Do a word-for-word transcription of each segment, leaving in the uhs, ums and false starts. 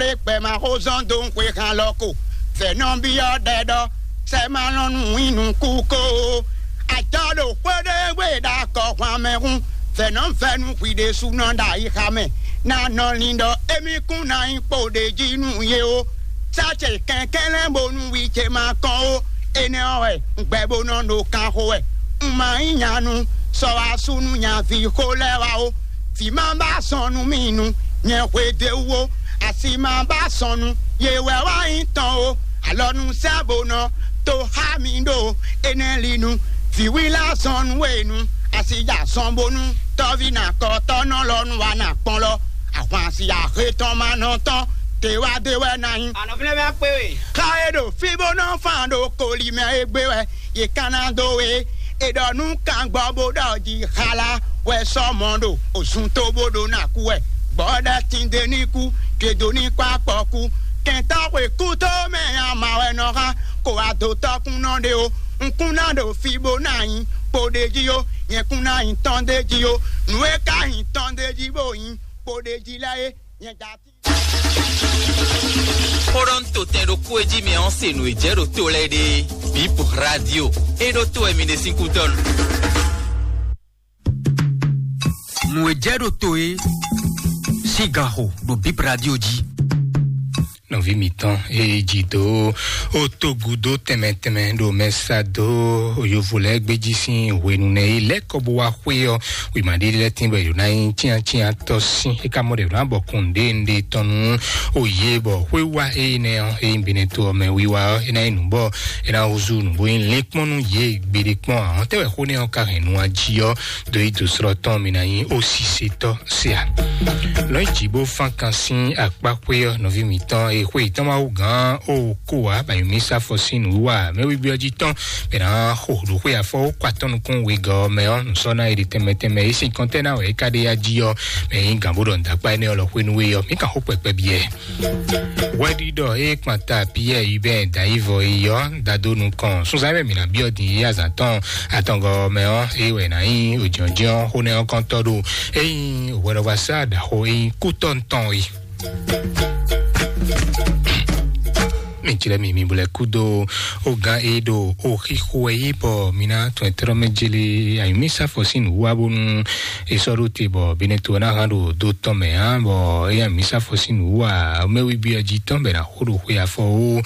Ɖé gbɛ ma xó zɔ́n dó xwe han lɔ ko. Fɛ̌ nɔ byɔ́ ɖɛ ɖɔ sɛ ma lɔn nú wín nukú ko. Ajɔ ɖo xwé ɖé gbe ɖo akɔ hwan mɛ hun. Fɛ̌ nɔ vɛ́ nú hwi ɖésúnɔ ɖo ayixa mɛ. Ná nɔ lin ɖɔ émí kún ná nyí kpo ɖé jí nú yé ó. Sá ce kɛnklɛ́n bónú wi ce ma kɔn ó. Énɛ́ ɔ́ wɛ un gbɛ bó nɔ ɖo kan xo wɛ. Un ma nyí nyanu sɔ wá sú nú nyaví xó lɛ́ɛ wá ó. Vǐ ma ba sɔn nú mì nu, nyɛ hwe d'é wú ó. Asi ma ba sɔn nu, yě wɛ wá nyí tɔn ó. Alɔ nu sɛ́ bó nɔ to xá mi ɖó énɛ́ li nu. Vǐwílá sɔn nú e nu, asi ja sɔn bónú tɔ́ví na kɔtɔ́ nɔ lɔ nu wá na kpɔn lɔ. Ahwan asi ahe tɔn ma nɔ tɔn, te wá dé wɛ ná nyí. Ànɔ̀fínlẹ́mí á pé we. Xa e ɖo fí bó nɔ fan ɖo koli mɛ e gbé wɛ. Yě ka ná dó we. È ɖɔ nú kangbɔ bó ɖɔ jí xala wɛ sɔ́ mɔ ɖo òzun tó bó ɖo ná kú wɛ. Gbɔ́ ɖɔ tinde ní kú, kedo ní kpá kpɔ kú. Kɛntɔ́ xwe kú tó mɛ ama wɛ nɔ xá, kó wá dó tɔ́kún nɔ ɖe ó. Un kún ná ɖo fí bó ná nyí kpo ɖé jí ó, nyɛ kún ná nyí tɔn ɖé jí ó. Nǔ e ka nyí tɔn ɖé jí bó nyí kpo ɖé jí lɛ́ɛ é, nyɛ ja tín. Xó ɖɔ un to tɛn ɖokpó e jí mɛ ɔ́ se nǔ e jɛ ɖo to lɛ́ɛ ɖe. Bip Radio. E ɖo to wɛ mi ɖe sín kútɔ́ nu. Nǔ e jɛ ɖo to é sín gan xo ɖo Bip Radio jí. Nɔví mǐtɔn e jí dó ó tó gúdo tɛnmɛ tɛnmɛ ɖo mɛ sa dó yovo lɛ́ɛ gbéjí sín hwenu nɛ e lɛ́ kɔ bó wá xwé ɔ́, wěma ɖé lɛ́ɛ tín bɔ è ɖǒ ná nyí cyáncyántɔ́ sín. É ka mɔ ɖɔ è ɖǒ ná bɔ kun ɖěeɖée tɔn nú òye bɔ xwé wá énɛ́ ɔ́, é nyí Benɛto ɔ́ mɛ wiwa ɔ́, é ná nyí nǔ bɔ é ná húzú nǔ bó nyí lɛ́nkpɔ́n nú yě gbeɖé kpɔ́n ǎ. Tɛ́ wɛ xó nɛ́ ɔ́ ka hɛn nu jí ɔ́, do yi do slɔ́ tɔn mi ná nyí ó sise tɔ́ se ǎ. Lɔ̌nyijǐ bó fán kan sín akpá xwé ɔ́, nɔví mǐtɔn e xwé yětɔn ma wú gǎn ó kó wǎ, bɔ mǐ sá fɔ sín nǔwiwa mɛwígbé ɔ́ jí tɔn, bɔ è nǎ xo ɖo xwé afɔ ó kɔ atɔ́ nukún wegɔ́ ɔ́ mɛ ɔ́, nǔsɔ́ná e ɖi tɛnmɛ tɛnmɛ é sín kɔntɛ́ná wɛ é ka ɖe yá jí ɔ́, mɛ nyí gǎn bó ɖɔ nǔdákpá énɛ́ ɔ́ lɔ xwénú é ɔ́, mǐ kan xó kpɛkpɛ byɔ́ ɛ. Hwɛɖiɖɔ e kpanta Piyɛ́ɛ yi bɛ́ dǎyívɔ yi ɔ́ da dó nukɔn. Sunzán mɛ mǐ ná byɔ́ din yi azǎn tɔn atɔngɔ́ mɛ ɔ́, é wɛ ná nyí òjɔ́njɔ́n xó nɛ́ ɔ́ kɔntɔ́ ɖo é nyí hwɛɖɔgbasá ɖaxó é nyí kútɔ́ tɔn é. Mi jlɛ́ mi mi blɛ́ kúdó ó gán e ɖo ó xixo wɛ yí bɔ mi ná tɔn ɛ tlɔ́ mɛ jélé ayǐmísafɔ sín nǔ wá bónú è sɔ́ ɖó te bɔ Benɛto ɔ́ ná hán ɖo dó tɔn mɛ ǎ, bɔ éyɛ́ mǐ sá fɔ sín nǔ wú ǎ. Mɛwígbí ɔ́ jí tɔn bɔ è nǎ xo ɖo xwe afɔ ó,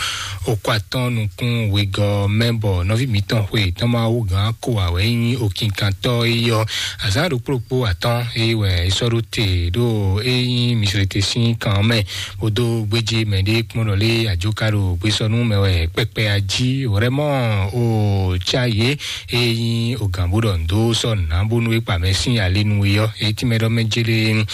ó kɔ atɔ́n nukún wegɔ́ mɛ, bɔ nɔví mǐtɔn xwe tɔn ma wú gǎn ko ǎ wɛ nyí okinkantɔ́ é yɔ. Azǎn ɖokpó ɖokpó atɔ́n é wɛ é sɔ́ ɖó te ɖó é nyí Mizlete sín kan ɔ́ mɛ, bó dó gbéjé mɛ ɖé kpɔ́n ɖɔ lé ajoka ɖo gbésɔnú mɛ wɛ kpɛkpɛ ají wrɛ́mɔ ó cá yě. Ényí o gǎn bó ɖɔ nǔ dó sɔ́ nǔ ná bónú é kpa mɛ sín alinu é ɔ́, é tínmɛ ɖɔ mɛ jélé.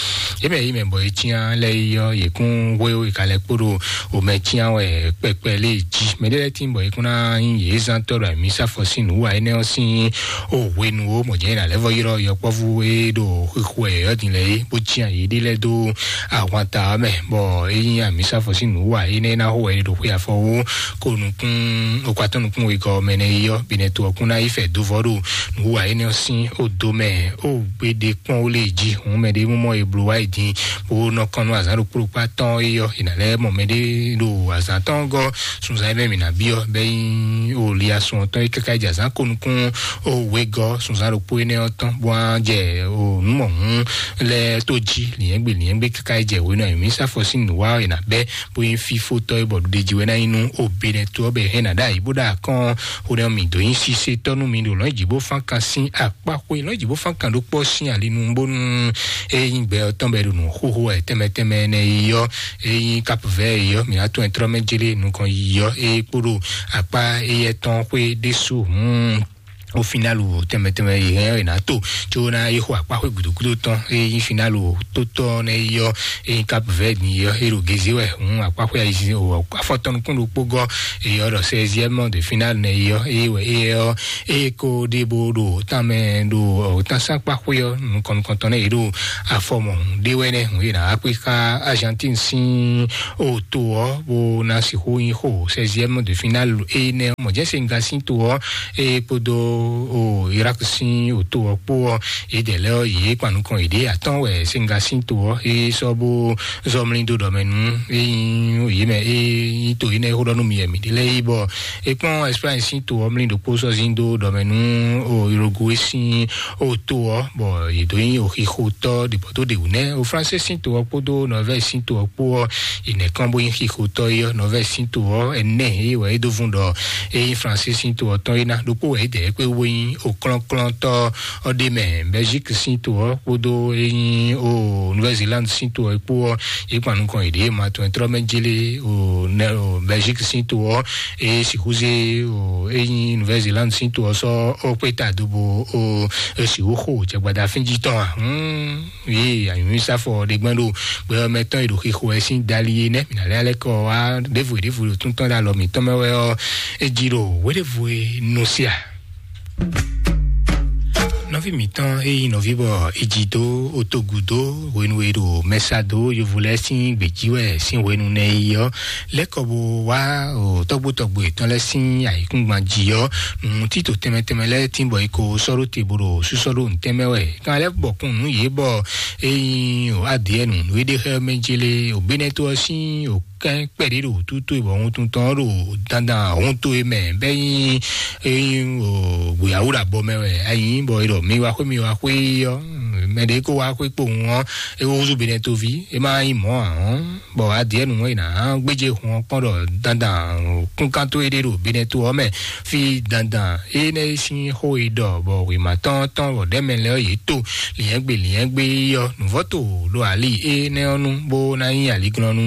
Yě mɛ yí mɛ bɔ é cyán lɛ́ɛ é ɔ́, yě kún hwé é ka lɛ́ kpó ɖo o mɛ cyán wɛ kpɛkpɛ lé jí. Mɛ ɖé lɛ́ɛ tín bɔ é kún ná nyí yě zán tɔ́ ɖo amǐsáfɔ sín nǔ wa énɛ́ ɔ́ sín o hwenu ó, mɔ̌ jɛ́n é ná lɛ́ vɔ ylɔ́ yɔkpɔ́vú e ɖo xixo wɛ yɔ̌yɔ́ din lɛ́ɛ é, bó cyán yěɖée lɛ́ɛ dó ahwanta ɔ́ mɛ, bɔ é nyí amǐsáfɔ sín nǔ wa énɛ́ ná xo wɛ é ɖo xwé afɔ ó. Ko nukún okpatɔ́ nukún wegɔ́ mɛ nɛ yi ɔ́, Benɛto ɔ́ kún ná yi fɛ dó vɔ ɖo nǔwa énɛ́ ɔ́ sín odo mɛ ó gbéɖé kpɔ́n ó lé jí. Hǔn mɛ ɖé mɔ e bló wá yi din bó nɔ kɔn nú azǎn ɖokpó ɖokpó atɔ́n é ɔ́, è nǎ lɛ́ mɔ mɛ ɖé ɖo azǎn tɔn gɔ́ sunzán mɛ mǐ ná byɔ́ bɛ́ nyí o liasun ɔ́ tɔn é káká jɛ azǎn ko nukún ó wegɔ́ sunzán ɖokpó énɛ́ ɔ́ tɔn bó wá jɛ o nǔ mɔ̌hún lɛ́ɛ tó jí lǐnyɛ́gbe lǐnyɛ́gbe káká jɛ hwenu ayǐmísafɔ sín nǔwa ɔ́ è nǎ bɛ́ bó nyí fífótɔ́ é bɔ ɖuɖéjí wɛ ná nyí nú Obenɛto ɔ́ bɔ è hɛn ná ɖó ayǐ bó ɖo akɔ́n xó nɛ́ ɔ́ mǐ dó nyí sísétɔ́ nú mi ɖo lɔ̌nyijǐ bó fán kan sín akpá xwé lɔ̌nyijǐ bó fán kan ɖó kpɔ́ sín alinu bónú é nyí gbɛ ɔ́ tɔn bɔ è ɖo nǔ xóxó wɛ tɛnmɛ tɛnmɛ énɛ́ yi ɔ́, é nyí Cap Vert yi ɔ́, mǐ ná tɔn ɛ tlɔ́ mɛ jélé nukɔn yi ɔ́, é kpó ɖo akpá éyɛ́ tɔn xwé ɖésú hǔn o finalu tɛnmɛ tɛnmɛ yi hɛn ɔ́, è nǎ to tso ná yi xɔ akpá xwé gǔdo gúdo tɔn, é nyí finalu tó tɔn nɛ yi ɔ́, é nyí Cap Vert yi ɔ́, é ɖo gézé wɛ. Hǔn akpá xwé ayi o afɔtɔn nukún ɖokpó gɔ́, é ɔ́ ɖɔ seizième de finale nɛ yi ɔ́, é wɛ é ɔ́ é ko ɖe bó ɖo tán mɛ ɖo tán sán akpá xwé ɔ́ nukɔn nukɔn tɔn nɛ é ɖo afɔ mɔ hǔn ɖé wɛ nɛ hǔn é ná akpé xá Argentine sín o to ɔ́ bó ná sixú nyí xo seizième de finale énɛ́ ɔ́. Mɔ̌ jɛ́n Senegal sín to ɔ́ é kpódó o Irak sín òtó ɔ́ kpó ɔ́, yědɛɛ lɛ́ɛ ɔ́, yě kpan nukɔn yěɖée atɔ́ɔ́n wɛ Senegal sín to ɔ́, é sɔ́ bó zɔ́ mlí dó ɖɔ mɛ nú é nyí yě mɛ é nyí to énɛ́ e xó ɖɔ nú mi wɛ mǐ ɖe lɛ́ɛ é bɔ é kpɔ́n Espagne sín to ɔ́ mlí ɖokpó sɔ́ zín dó ɖɔ mɛ nú o Uruguay sín òtó ɔ́, bɔ yě dó nyí òxixotɔ́ ɖěbɔ́ dó ɖě wú nɛ́. O Fransé sín to ɔ́ kpódó Norvège sín to ɔ́ kpó ɔ́, yě nɛ́ kán bó nyí xixotɔ́ é ɔ́, Norvège sín to ɔ́ ɛnɛ é wɛ é dó vún ɖɔ é nyí Fransé sín to ɔ́ tɔn é ná ɖokpó wɛ é dɛ é kpé wú bó nyí òklɔ́nklɔ́ntɔ́ ɔ́ ɖ'é mɛ. Belgique sín to ɔ́ kpódó é nyí o Nouvelle-Zélande sín to ɔ́ kpó ɔ́, yě kpan nukɔn yěɖée ma tɔn tlɔ́ mɛ jélé o nɛ o Belgique sín to ɔ́, é sixú zé o é nyí Nouvelle-Zélande sín to ɔ́ sɔ́ ó kpé ta dó bó o sixú xo jɛgbada fínjí tɔn a? Hmm. Yě anyǔmísá fɔ ɖe gbɛn ɖo gbɛ ɔ́ mɛ tɔn e ɖo xixo wɛ sín dali é nɛ́ mǐ ná lɛ́ lɛ́ kɔ wá ɖěvo ɖěvo ɖo tún tɔn ɖo alɔ mǐtɔn mɛ wɛ ɔ́, é jí ɖo wěɖévo e nɔ sia. Nɔví mǐtɔn e nyí nɔví bɔ é jí dó otogu dó hwenu e ɖo mɛsa dó yovo lɛ́ɛ sín gbějí wɛ sín hwenu nɛ yi ɔ́, lɛ́ kɔ bó wá o tɔ́gbó tɔ́gbó yětɔn lɛ́ɛ sín ayǐkúngban jí ɔ́, nǔ títò tɛnmɛ tɛnmɛ lɛ́ɛ tín bɔ é ko sɔ́ ɖó te bó ɖo súsɔ́ ɖó nǔtɛn mɛ wɛ. Kan lɛ́ bɔkun nǔ yě bɔ é nyí o adìɛ nǔ nǔ e ɖe xɛ mɛ jélé o Benɛto ɔ́ sín o kɛn kpɛɖé ɖo wútútú e bɔ wuntun tɔn ɔ́ ɖo dandan hun to e mɛ bɛ nyí e nyí o gbéyàwó ɖo abɔ mɛ wɛ ayi bɔ e ɖɔ mi wá xwé mi wá xwé ɔ́ mɛ ɖě kó wá xwé kpowun ɔ́ e wó húzú Benɛto ví e má nyí mɔ̌ ǎ ɔ́ bɔ adìɛ nǔ e nǎ gbéjé hun ɔ́ kpɔ́n ɖɔ dandan kúnkántó e ɖe ɖo Benɛto ɔ́ mɛ fí dandan énɛ́ e sín xó e ɖɔ bɔ wěma tɔn tɔn bɔ ɖɛ̌mɛ lɛ́ɛ ɔ́ yě to lǐnyɛ́gbe lǐnyɛ́gbe é ɔ́ nǔvɔ́ to ɖo ali énɛ́ ɔ́ nu bó ná nyí aliglɔ́nú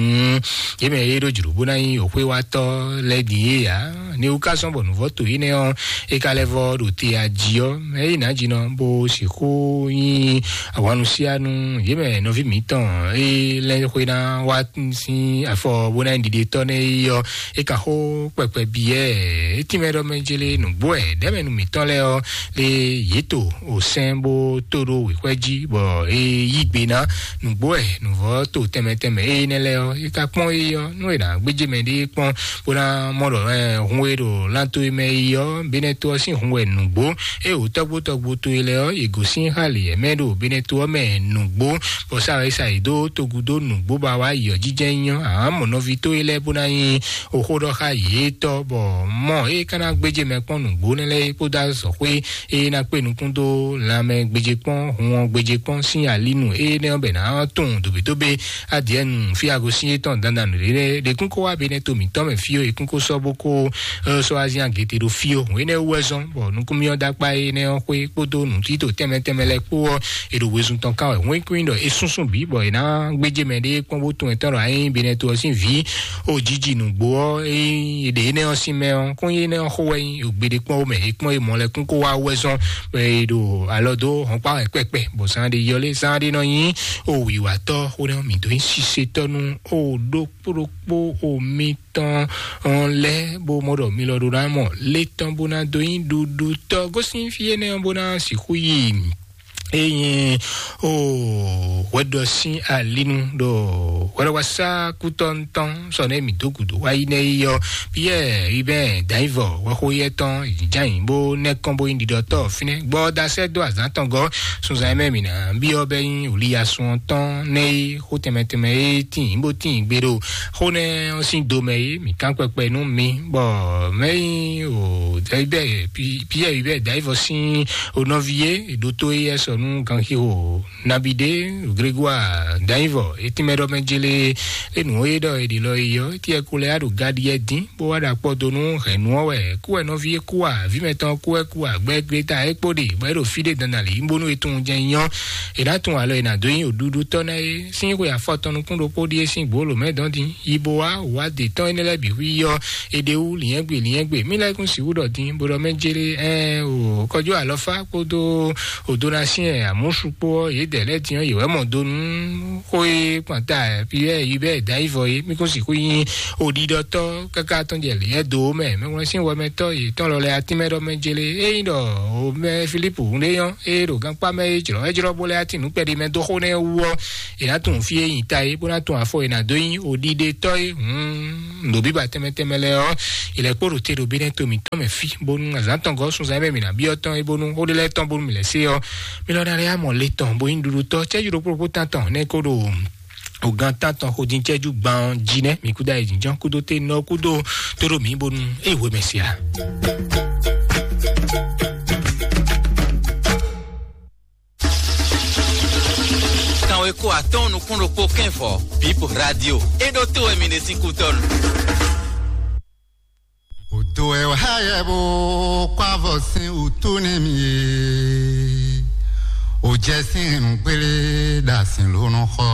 yě mɛ e ɖo jlǒ bó ná nyí òxwéwatɔ́ lɛ́ɛ din é ǎ. Ní wú ká zɔ́n bɔ nǔvɔ́ to énɛ́ ɔ́ é ka lɛ́ vɔ́ ɖo te ají ɔ́ mɛ é nǎ jinɔ bó sixú nyí ahwanusianu yě mɛ nɔví mǐtɔn é lɛ́ xwé ná wá sín afɔ bó ná nyí ɖiɖetɔ́ nɛ́ é ɔ́ é ka xó kpɛkpɛ byɔ́ ɛ. É tínmɛ ɖɔ mɛ jélé nǔgbó ɛ ɖɛ̌mɛnu mǐtɔn lɛ́ɛ ɔ́ lé yě to o sɛ́n bó tó ɖó wěxwɛ́ jí bɔ é yí gbe ná nǔgbó ɛ nǔvɔ́ to tɛnmɛ tɛnmɛ é nɛ́ lɛ́ɛ ɔ́ é ka kpɔ́n é ɔ́ nú è nǎ gbéjé mɛ ɖé kpɔ́n bó ná mɔ ɖɔ ɛ hun e ɖo lánto e mɛ é ɔ́ Benɛto ɔ́ sín hun wɛ nǔgbó é wǒ tɔ́gbó tɔ́gbó to e lɛ́ɛ ɔ́ yě gosín xá lě ɛ mɛ ɖo Benɛto ɔ́ mɛ nǔgbó bɔ sa wɛ sa yě dó togu dó nǔgbó ba wá yi ɔ́ jijɛ nyɔ ǎ mɔ nɔví tó e lɛ́ɛ bó ná nyí oxó ɖɔ xá yě tɔ́ bɔ mɔ é ka ná gbéjé mɛ kpɔ́n nǔgbó nɛ́ lɛ́ɛ é kpódó azɔ̌xwé é ná kpé nukún dó lanmɛ gbéjé kpɔ́n hun ɔ́ gbéjé kpɔ́n sín alínu énɛ́ ɔ́ bɛ ná tunwun dǒbédóbé adìɛnu fí agosín étɔn dandan nǔɖé lɛ́ɛ ɖekún kó wá Benɛto mǐtɔn mɛ fí ó é kún kó sɔ́ bó kó sɔ́ azín agěte ɖo fí ó hǔn énɛ́ wú wɛ zɔ́n bɔ nukúnmí ɔ́ dó akpá énɛ́ ɔ́ xwé kpódó nǔtítò tɛnmɛ tɛnmɛ lɛ́ɛ kpó ɔ́ è ɖo wezun tɔn kán wɛ hwɛ́nkún ɖɔ é súnsún bǐ bɔ è ná gbéjé mɛ ɖé kpɔ́n bó tunwun ɛtɔ́ ɖɔ ayé Benɛto ɔ́ sín vǐ ó jiji nǔgbó ɔ́ é ɖe énɛ́ ɔ́ sín mɛ ɔ́ kún énɛ́ ɔ́ xó wɛ nyí gbeɖé kpɔ́n ó mɛ é kpɔ́n é mɔ lɛ́ kún kó wá wɛ zɔ́n bɔ é ɖo alɔ dó hɔn kpá wɛ kpɛkpɛ bɔ zán ɖé yɔlé zán ɖé nɔ nyí ó wǐwatɔ́ xó nɛ́ ɔ́ mǐ dó nyí sisetɔ́ nú ó ɖó kpóɖokpó omi tɔn lɛ́ bó mɔ ɖɔ mi lɔ ɖó ná mɔ lé tɔn bó ná dó nyí ɖuɖu tɔ́ gosín fí énɛ́ ɔ́ bó ná sixú yi. Eye o hwɛɖɔ sín alinu ɖo hwɛɖɔwasa kútɔntɔn sɔ nɛ mi dó gǔdo wá yi nɛ yi ɔ Pierre Hubert Daivɔ wɛxo yɛ tɔn jányi bó nɛ kɔn bó nyí ɖiɖɔtɔ fínɛ gbɔ dasɛ dó azán tɔn gɔ sunzan mɛ mi ná biɔ bɛ nyí Oliya sun tɔn nɛ yi xó tɛmɛ tɛmɛ e tín bó tín gbe ɖo xó nɛ ɔ́ sín do mɛ é mǐ kán kpɛkpɛ nú mi bɔ mɛ nyí o Pierre Hubert Daivɔ sín o nɔvi é ɖótó é sɔ nú ganxixo Nabide Grégoire Daivɔ etínmɛ ɖɔ mɛ jélé é nǔ é ɖɔ è ɖi lɔ yi ɔ́ tiɛ ko lɛ á ɖo gaɖiɛ dín bó wá ɖo akpɔ dó nú hɛ̌nnu ɔ́ wɛ kú wɛ nɔví é kú a vǐ mɛtɔn kú wɛ kú a gbɛ Greta é kpó ɖe bɔ é ɖo fí ɖé dandan lě bónú é tunwun jɛ nyɔ è nǎ tunwun alɔ è nǎ dó nyi òɖuɖu tɔ́ ná é sín xwe afɔtɔn nukún ɖokpó ɖíe sín gbǒ lǒ mɛ dɔn dín yi bó wá wá dě tɔn énɛ́ lɛ́ɛ bǐ hu yi ɔ́ è ɖe wú lǐnyɛ́gbe lǐnyɛ́gbe mí lɛ́ kún sixú ɖɔ dín bó ɖɔ mɛ jélé ɛ o kɔjó alɔfá kpódó o donasiɛn amúsu kpó ɔ́ yědɛɛ lɛ́ɛ din ɔ́ yě wɛ mɔ do nú xó e kpanta Pierre Hubert Daivɔ é mí kún sixú nyí oɖiɖɔtɔ́ káká tɔn jɛ lǐnyɛ do mɛ mɛwlɛnsín wɔmɛtɔ́ yětɔn lɔ lɛ́ɛ atínmɛ ɖɔ mɛ jélé é nyí ɖɔ o mɛ Filipu ɖé nyɔ́ é ɖo gankpá mɛ é jlɔ́ é jlɔ́ bó lɛ́ atin nǔ kpɛɖé mɛ dó xó nɛ́ wú ɔ́ è nǎ tunwun fí é nyi ta é bó ná tunwun afɔ è nǎ dó nyí oɖiɖetɔ́ é hǔn Ɖo bíbá tɛnmɛ tɛnmɛ lɛ́ɛ ɔ́, ilẹ̀ kpó ɖo te ɖo bí nɛ́ to mǐtɔn mɛ fí, bónú azǎn tɔn gɔ́ sunzan mɛ mǐ ná byɔ́ tɔn é, bónú xó ɖé lɛ́ɛ tɔn bónú mǐ lɛ́ sé ɔ́, mí lɔ ná lɛ́ amɔ le tɔn bó nyí ɖuɖutɔ́ cɛ́jú ɖokpó ɖokpó tán tɔn nɛ́ kó ɖo ògán tán tɔn xodín cɛ́jú gban ɔ́ jí nɛ́ mǐ kúdó ayǐjínjɔ́n kúdó ténɔ kúdó tó ɖo mǐ bónú é hwe mɛ sia. Kanweko atɔ́ɔ́n nukún ɖokpó kɛ́nvɔ, Bib Radio. É ɖó to wɛ mi ɖe sín kútɔ́nu. Odo ɛ wá yɛ bó kó avɔ sín wútu nú mì é. Ojɛ sín hɛn gbélé ɖo asǐn lónú xɔ.